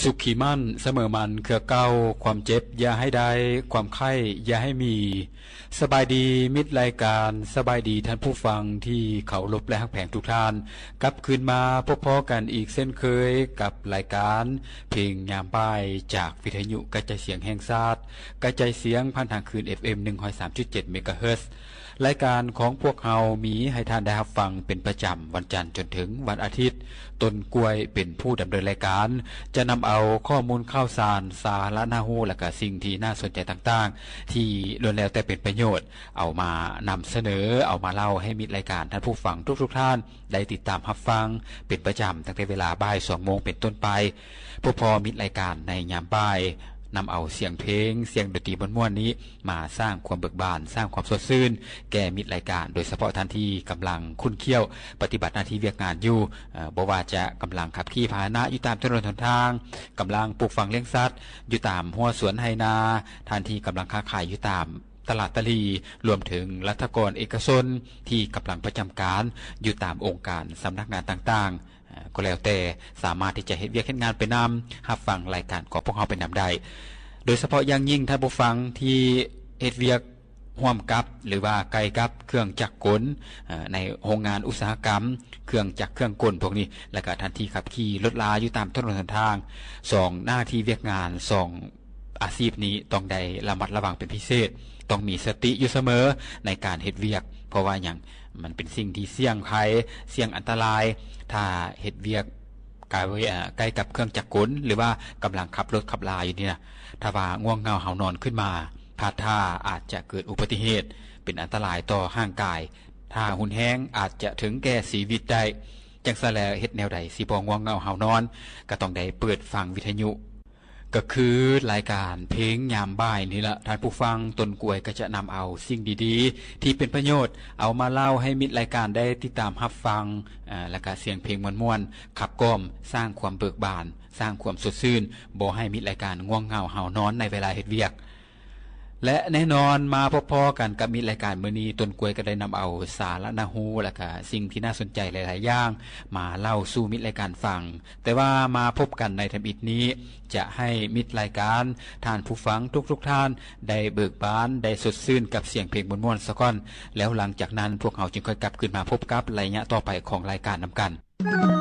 ສຸຂີໝັ້ນສະເໝີໝັ້ນເຄືອເກົ່າ, ຄວາມເຈັບຢ່າໃຫ້ໄດ້, ຄວາມໄຂ້ຢ່າໃຫ້ມີ. ສະບາຍດີມິດລາຍການ, ສະບາຍດີທ່ານຜູ້ຟັງທີ່ເຄົາລົບ ແລະ ຮັກແພງທຸກທ່ານ. ກັບຄືນມາພົບພໍ້ກັນອີກເຊັ່ນເຄີຍກັບລາຍການເພງຍາມບ່າຍ ຈາກວິທະຍຸກະຈາຍສຽງແຫ່ງຊາດ, ກະຈາຍສຽງຜ່ານທາງຄື້ນ ເອັຟເອັມ ໜຶ່ງຮ້ອຍສາມຈຸດເຈັດ ເມກາເຮີດ. ລາຍການຂອງພວກເຮົາມີໃຫ້ທ່ານໄດ້ຮັບຟັງເປັນປະຈຳ ວັນຈັນຈົນເຖິງວັນອາທິດ. ຕົ້ນກ້ວຍເປັນຜູ້ດຳເນີນລາຍການ, ຈະນຳເອົາຂໍ້ມູນຂ່າວສານ, ສາລະໜ້າຮູ້ ແລະ ກະສິ່ງທີ່ໜ້າສົນໃຈຕ່າງໆ ທີ່ລ້ວນແລ້ວແຕ່ເປັນປະໂຫຍດ ເອົາມານຳສະເໜີ, ເອົາມາເລົ່າໃຫ້ມິດລາຍການ, ທ່ານຜູ້ຟັງທຸກໆທ່ານ ໄດ້ຕິດຕາມຮັບຟັງເປັນປະຈຳ ຕັ້ງແຕ່ເວລາບ່າຍສອງໂມງເປັນຕົ້ນໄປ. ພົບພໍ້ມິດລາຍການໃນຍາມບ່າຍ, ນຳເອົາສຽງເພງ, ສຽງດົນຕີມ່ວນໆນີ້ ມາສ້າງຄວາມເບີກບານ, ສ້າງຄວາມສົດຊື່ນແກ່ມິດລາຍການ, ໂດຍສະເພາະທ່ານທີ່ກຳລັງຂຸ້ນຂ້ຽວປະຕິບັດໜ້າທີ່ວຽກງານຢູ່, ເອີ ບໍ່ວ່າຈະກຳລັງຂັບຂີ່ພາຫະນະຢູ່ຕາມຖະໜົນຫົນທາງ, ກຳລັງປູກຝັງລ້ຽງສັດຢູ່ຕາມຮົ້ວສວນໄຮ່ນາ, ທ່ານທີ່ກຳລັງຄ້າຂາຍຢູ່ຕາມຕະຫຼາດຕະຫຼີ່, ລວມເຖິງລັດຖະກອນເອກະຊົນທີ່ກຳລັງປະຈຳການຢູ່ຕາມອົງການສຳນັກງານຕ່າງໆ. ເອີ ກໍແລ້ວແຕ່ສາມາດທີ່ຈະເຮັດວຽກເຮັດງານໄປນຳ, ຮັບຟັງລາຍການຂອງພວກເຮົາໄປນຳໄດ້. ໂດຍສະເພາະຢ່າງຍິ່ງທ່ານຜູ້ຟັງທີ່ເຮັດວຽກຮ່ວມກັບ ຫຼືວ່າໃກ້ກັບເຄື່ອງຈັກກົນ, ເອີ ໃນໂຮງງານອຸດສາຫະກຳ, ເຄື່ອງຈັກເຄື່ອງກົນພວກນີ້, ແລະກະທ່ານທີ່ຂັບຂີ່ລົດລາຢູ່ຕາມຖະໜົນຫົນທາງ, ສອງໜ້າທີ່ວຽກງານ, ສອງ ອາຊີບນີ້ຕ້ອງໄດ້ລະມັດລະວັງເປັນພິເສດ, ຕ້ອງມີສະຕິຢູ່ສະເໝີໃນການເຮັດວຽກ. ເພາະວ່າຫຍັງ? ມັນເປັນສິ່ງທີ່ສ່ຽງໄພ, ສ່ຽງອັນຕະລາຍ. ຖ້າເຮັດວຽກໃກ້ ເອີ ໃກ້ກັບເຄື່ອງຈັກກົນ ຫຼືວ່າກຳລັງຂັບລົດຂັບລາຢູ່ນີ້ນະ, ຖ້າວ່າງ່ວງເຫງົາເຮົານອນຂຶ້ນມາ, ພາດທ່າອາດຈະເກີດອຸບັດຕິເຫດ, ເປັນອັນຕະລາຍຕໍ່ຮ່າງກາຍ. ຖ້າຮຸນແຮງອາດຈະເຖິງແກ່ຊີວິດໄດ້. ຈັ່ງຊັ້ນແລ້ວ ເຮັດແນວໃດຊິບໍ່ງ່ວງເຫງົາເຮົານອນ? ກໍຕ້ອງໄດ້ເປີດຟັງວິທະຍຸ. ກໍຄືລາຍການເພງຍາມບ່າຍນີ້ລະທ່ານຜູ້ຟັງ, ຕົ້ນກ້ວຍກໍຈະນຳເອົາສິ່ງດີໆທີ່ເປັນປະໂຫຍດ ເອົາມາເລົ່າໃຫ້ມິດລາຍການໄດ້ຕິດຕາມຮັບຟັງ, ເອີ ແລ້ວກະສຽງເພງມ່ວນໆ ຂັບກ່ອມ, ສ້າງຄວາມເບີກບານ, ສ້າງຄວາມສົດຊື່ນ, ບໍ່ໃຫ້ມິດລາຍການງ່ວງເຫງົາເຮົານອນໃນເວລາເຮັດວຽກ. ແລະ ແນ່ນອນ, ມາພົບພໍ້ກັນກັບມິດລາຍການມື້ນີ້, ຕົ້ນກ້ວຍກໍໄດ້ນຳເອົາສາລະໜ້າຮູ້ ແລະ ກະສິ່ງທີ່ໜ້າສົນໃຈຫຼາຍໆຢ່າງ ມາເລົ່າສູ່ມິດລາຍການຟັງ. ແຕ່ວ່າມາພົບກັນໃນທຳອິດນີ້, ຈະໃຫ້ມິດລາຍການ, ທ່ານຜູ້ຟັງທຸກໆທ່ານ ໄດ້ເບີກບານ, ໄດ້ສົດຊື່ນກັບສຽງເພງມ່ວນໆສາກ່ອນ. ແລ້ວຫຼັງຈາກນັ້ນ, ພວກເຮົາຈຶ່ງຄ່ອຍກັບຄືນມາພົບກັບໄລຍະຕໍ່ໄປຂອງລາຍການນຳກັນ.